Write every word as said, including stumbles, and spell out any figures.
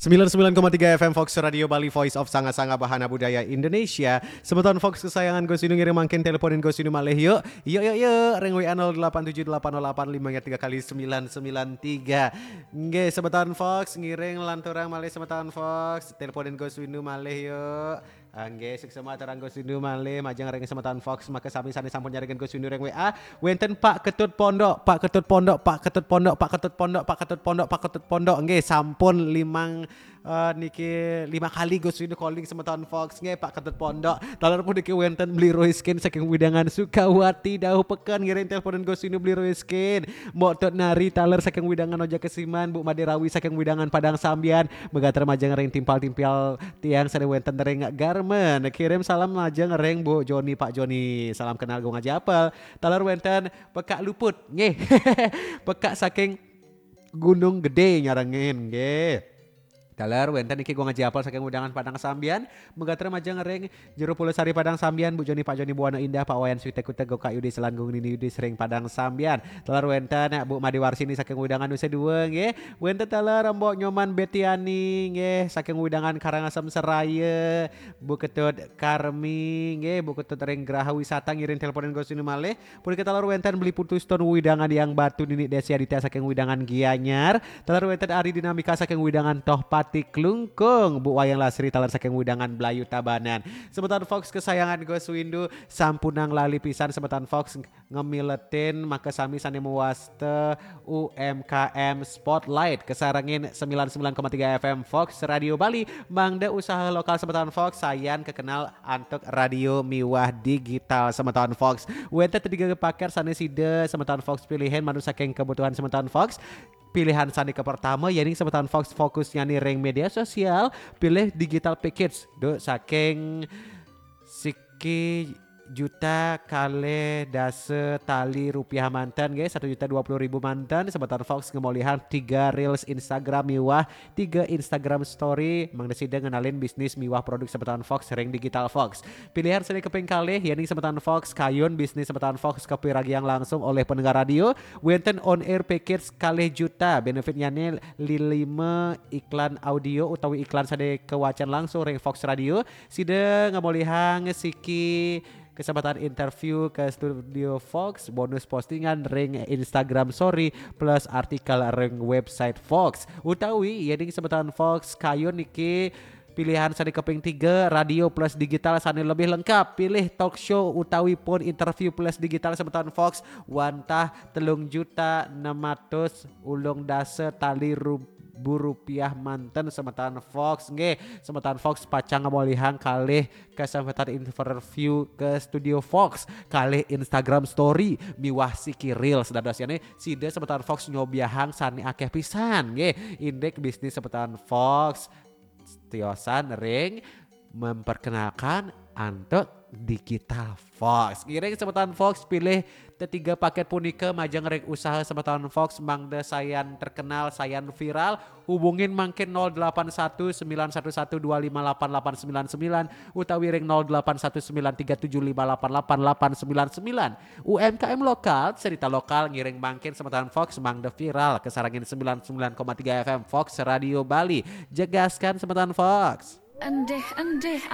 Sembilan sembilan koma tiga F M Fox Radio Bali, Voice of Sanga-Sanga Bahana Budaya Indonesia. Semeton Fox kesayangan Gus Windu ngiring mangkin teleponin Gus Windu malih yuk. Yuk yuk yuk, ring W A nol delapan tujuh delapan nol delapan lima tiga kali sembilan sembilan tiga. Nggih, semeton Fox ngiring lanturang malih semeton Fox. Teleponin Gus Windu malih yuk. Nggih, suksma aturang Gus Windu malih majeng ring semeton Fox, maka sami sane sampun nyarengin Gus Windu ring W A. Wenten Pak Ketut Pondok, Pak Ketut Pondok, Pak Ketut Pondok, Pak Ketut Pondok, Pak Ketut Pondok, Pak Ketut Pondok. Nggih, sampun limang eh, niki lima kali Gus Windu calling semeton Fox nggih Pak Ketut Pondok. Taler puniki wenten Beli Roiskin saking Widangan Sukawati, Dauh Peken, ngiring teleponin Gus Windu Beli Roiskin. Mbok Tut Nari taler saking Widangan Oja Kesiman, Bu Made Rawi saking Widangan Padang Sambian. Megater majeng ring timpal-timpal tiang sane wenten ring Garmen. Kirim salam majeng ring Bu Joni, Pak Joni. Salam kenal Gung Aji Apel. Taler wenten Pekak Luput, nggih. Pekak saking Gunung Gede nyarengin, nggih. Taler wenten niki Gung Aji Apel saking Widangan Padang Sambian, megater majeng ring Jero Pulau Sari Padang Sambian, Bu Joni, Pak Joni, Bu Wana Indah, Pak Wayan Swite Kute, Goka Yudi Selanggung, Nini Yudi sering Padang Sambian. Taler wenten Bu Made Warsini saking Widangan Nusa Dua, nggih. Wenten taler Mbok Nyoman Betiani, nggih, saking Widangan Karangasem Seraya, Bu Ketut Karmi, nggih, Bu Ketut ring Graha Wisata ngiring teleponin Gus Windu malih. Punika taler wenten Beli Putu Stone Widangan Yang Batu, Nini Desi Aditya saking Widangan Gianyar. Taler wenten Ari Dinamika saking Widangan Tohpati Klungkung, Bu Wayang Lasri taler saking Widangan Blayu Tabanan. Semeton Fox kesayangan Gus Windu, sampunang lali pisan semeton Fox ngemiletin maka sami sane mewasta U M K M Spotlight kesarengin sembilan sembilan koma tiga F M Fox Radio Bali, mangda usaha lokal semeton Fox sayan kekenal antuk radio miwah digital semeton Fox. Wenten tiga paket sane sida semeton Fox pilihin manut saking kebutuhan semeton Fox. Pilihan sane ke pertama yening semeton Fox fokusnya ring media sosial, pilih digital package duk saking siki juta kalih dasa tali rupiah manten nggih, satu juta dua puluh ribu manten. Semeton Fox ngemolihang tiga reels Instagram miwah tiga Instagram story mangda sida ngenalin bisnis miwah produk semeton Fox ring digital Fox. Pilihan seri keping kalih yening semeton Fox kayun bisnis semeton Fox kapiragiang langsung olih pendengar radio, wenten on air package kalih juta, benefitnyane lilima iklan audio utawi iklan sane kawacan langsung ring Fox Radio. Sida ngemolihang siki kesempatan interview ke studio Fox, bonus postingan ring Instagram Story, plus artikel ring website Fox. Utawi yening semeton Fox kayun niki pilihan sane keping tiga, radio plus digital sane lebih lengkap. Pilih talk show utawi pun interview plus digital semeton Fox, wantah telung juta enam atus ulung dasa tali ru-, bu rupiah manten semeton Fox. Nggih, semeton Fox pacang ngemolihang kalih kesempatan interview ke studio Fox, kalih Instagram Story miwah siki reels. Dados yane sida semeton Fox nyobiahang sane akeh pisan nggih. Indik bisnis semeton Fox tiosan ring memperkenalkan antuk digital Fox. Ngiring semeton Fox pilih tetiga paket punika majeng ring usaha semeton Fox mangda sayan terkenal, sayan viral. Hubungin mangkin nol delapan satu sembilan satu satu dua lima delapan delapan sembilan sembilan utawi ring nol delapan satu sembilan tiga tujuh lima delapan delapan delapan sembilan sembilan. U M K M lokal, cerita lokal ngiring mangkin semeton Fox mangda viral kesarengin sembilan sembilan koma tiga F M Fox Radio Bali. Jegaskan semeton Fox. Endih-endih